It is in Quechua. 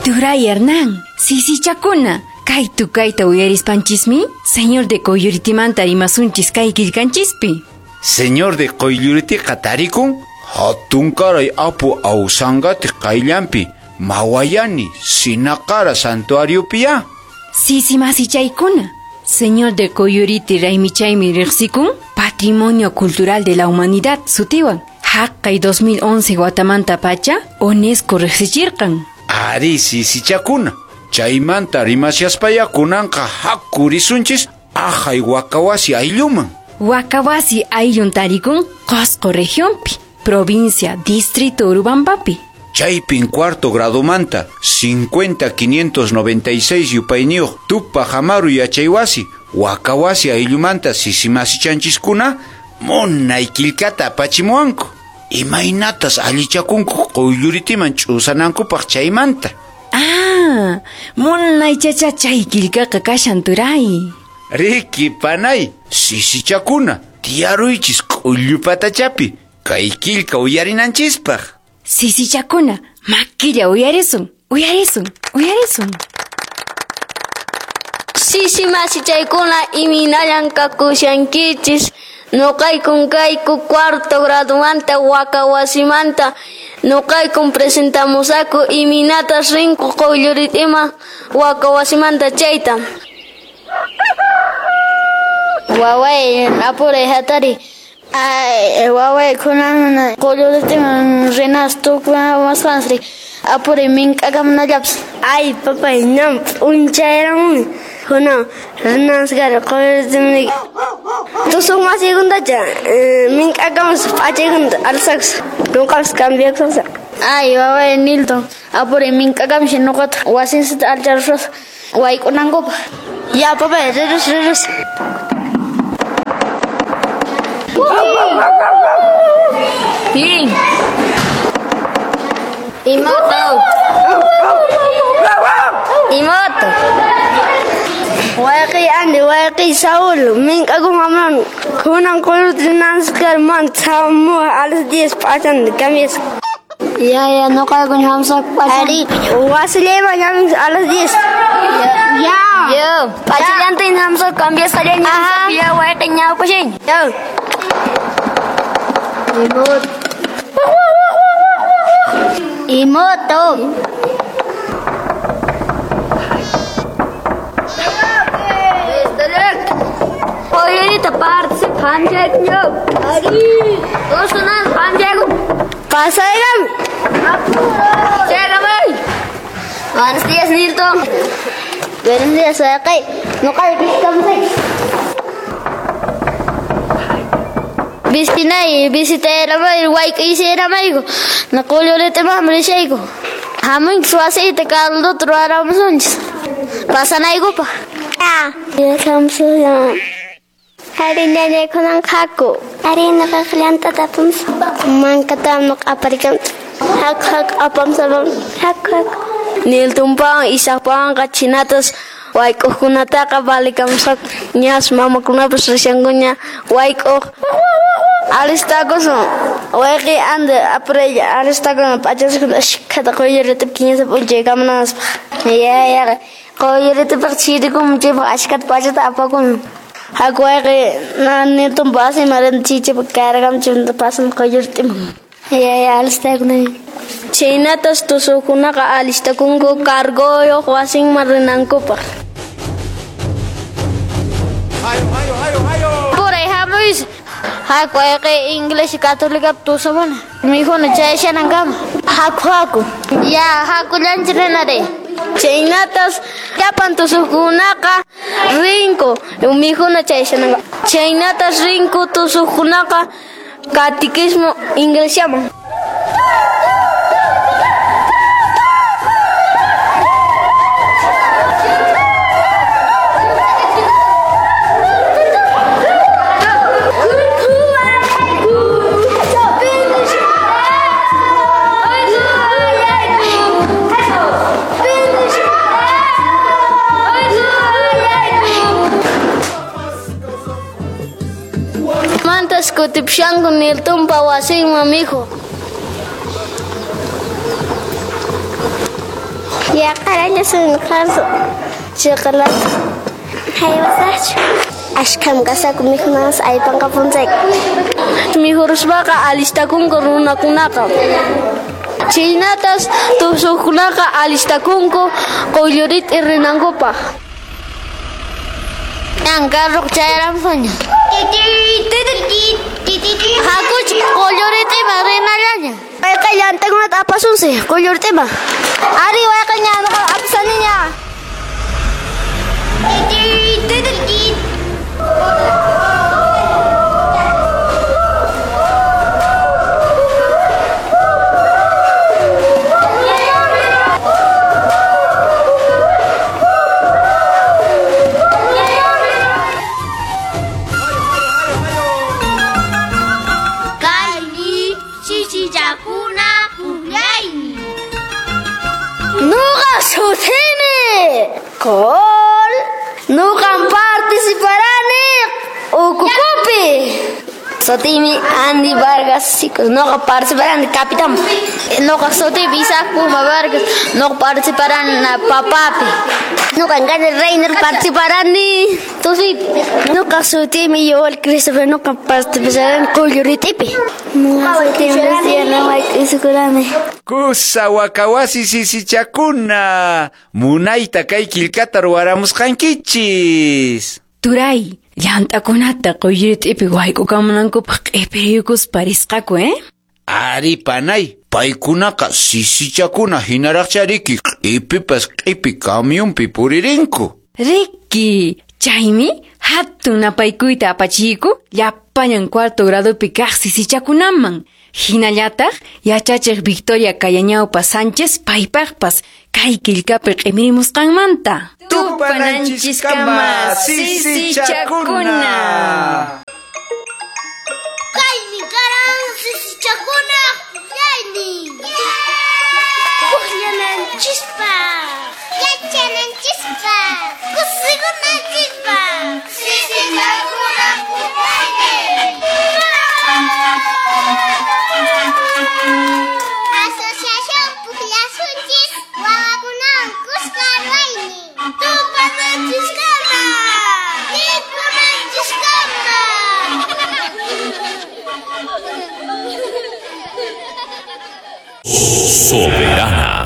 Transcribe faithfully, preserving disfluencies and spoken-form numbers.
Turay Hernán, sisichakuna, kay tukayta uyarispanchismi, señor de Qoylluritimanta rimasunchis kay qillqanchispi. Señor de Qoylluritiqa tarikun, hatunkaray apu Ausangati qayllanpi, Mawayani, Sinaqara santuariopiya. Sisi masichaykuna, señor de Qoylluriti raymichaymi riqsikun, Patrimonio Cultural de la Humanidad sutiwan. Haqqay dos mil once watamanta pacha, UNESCO riqsichirqan. Ari sisichakuna, chaymanta rimashaspaya kunanqa hakurisunchis ahay Wakawasi aylluman. Wakawasi ayllun tarikun Qosqo regionpi, provincia, distrito Urubambapi. Chaypin cuarto gradomanta, cincuenta quinientos noventa y seis yupayniyuq Tupac Amaru yachaywasi, Wakawasi ayllumanta sisimasichanchiskuna, munay qillqata apachimuwanku. Imaynatas allichakunku Qoylluritiman ch'usanankupaq chaymanta. Ah, munay chacha chay qillqaqa kashan turay. Riki panay, sisichakuna, tiyaruychis k'ullupatachapi, kay qillqa uyarinanchispaq. Sisichakuna, makilla uyarisun, uyarisun, uyarisun. Sisi masichaykuna iminallan kakushankichis. Noqaykun kayku cuarto gradomanta Wakawasimanta. Noqaykun presentamusaku iminatas rinku Qoylluritima Wakawasimanta chayta. Waway apuray hatari. Ay, waway kunan Qoylluritiman rinas tukumasqansri apuray mink'akamunallapas. Ay, papay, ñam p'unchayramuni. Kunan rinasqari Qoylluritiman. Tusuq masiykunatacha mink'akamus p'achaykunata alsakus nuqapas cambiakusaq. Ay, waway Nilton, apuray mink'akamushi nuqata wasinsita alcharusaq wayk'unankupaq. Ya, papay, rirus, rirus. Bien. Imoto. Imoto. Wayqi Andy, wayqi Saúl, mink'akun amran, kunan Qoylluritiman man tsamu a las diez p'achan cambias. Ya, ya, nuqaykun hamsaq p'achan. Ari, wasillayman llamin a las diez. Ya. Yo, p'achallantin hamsaq cambiasqallaña hamsaq ya wayqi ñawpashin. Yo. Imoto. Imoto. Qoyllurita partisi phamchayku. Ari, usunan phamchayku. Pasayram. Chayramay. Buenos días, Nilton. Buenos días, wayqi. Nuqayku kamsay. Vistinay, visitayramay, wayk'isayramayku. Qoylluritiman rishayku. Hamunchis wasiyta calduta ruwaramusunchis. Pasanaykupaq. Ya. Ari ñañay kunan haku. Ari nuqaq llantata apamusaq. Mankatam nuqa aparikamusaq. Haku haku apamusaq. Haku haku. Niltonpawan Isacpawanqa chinatas wayk'uqkunataqa valikamusqaku. Ñas mamakunapas rishankuña wayk'uq. Alistakusun. Wayqi Andy apuray alistakuna p'achasqakuna ashkhata Qoylluritipi kinsa p'unchay kamunanpaq. Ya, ya. Qoylluritipiqa chirikun chaypaq ashkhata p'achata apakun. Haku wayqi Nilton pasiman rin chichipa cargamchimanta pasan Qoylluritiman. Ya, ya, alistakuna. Chaynatas tusuqkunaqa alistakunku cargoyuq wasinman rinankupaq. Apuray hamuysi. Haku wayqi Iglesia Católica tusumuna. Mikhuna chayashanankama. Haku haku. Ya, hakullanchik rinari. Chaynatas llapan tusuqkunaqa rinku mikhuna chayashananka. Chaynatas rinku tusuqkunaqa catequismo iglesiaman. Mantas kutipshanku Niltonpa wasinman mijo. Yaqaralla sunqarsu chiqlata. Haywasaqchu. Ashkham kasaku mikhunas aypanqapunchayku. Mikhuruspaqa alistakunku runakunaqa. Chaynatas tusuqkunaqa alistakunku quyllurita rinankupaq. Ñan carro chayaramuña. Hakuch quylluritiman rinallaña. Wayqa llantakunata apasunsi quylluritiman. Ari wayqa ñanqa apasaniña. Nuqa sutimi Col nuqam participarani ukukupi. Sutimi Andy Vargas, chicos, nuqa participarani capitán. Nuqa sutimi Isaac Puma Vargas, nuqa participarani papapi. Nuqa Gane Reiner participarani tusipi. Nuqa sutimi Yoel Christopher, nuqa participarani quylluritipi. Nuqa sutimi Luciana Mike. Kusa wakawasi sisichakuna munayta kay killkata ruwaramusqankichis. Turay, llant'akunata quylluritipi wayk'ukamunankupaq q'ipiriyukuspa risqaku, eh? Ari panay, paykunaqa sisichakuna hinaraqchariki q'ipipas q'ipi kamyunpi puririnku. Riki, chaymi hatun napaykuyta apachiku llapallan cuarto gradupi kaq sisichakunaman. Hinallataq yachachiq Victoria Cayañaupa Sánchez paypaqpas kay killkapi q'imirimusqanmanta. Tupananchiskama sisichakuna. Kaymi karan sisichakuna pukllaynin. Pukllananchispaq, yachananchispaq, kusikunanchispaq. Sisichakuna pukllaynin. Asociación Pukllasunchis wawakunawan kuska ruwaynin. Tupananchiskama, rikunanchiskama. Soberana.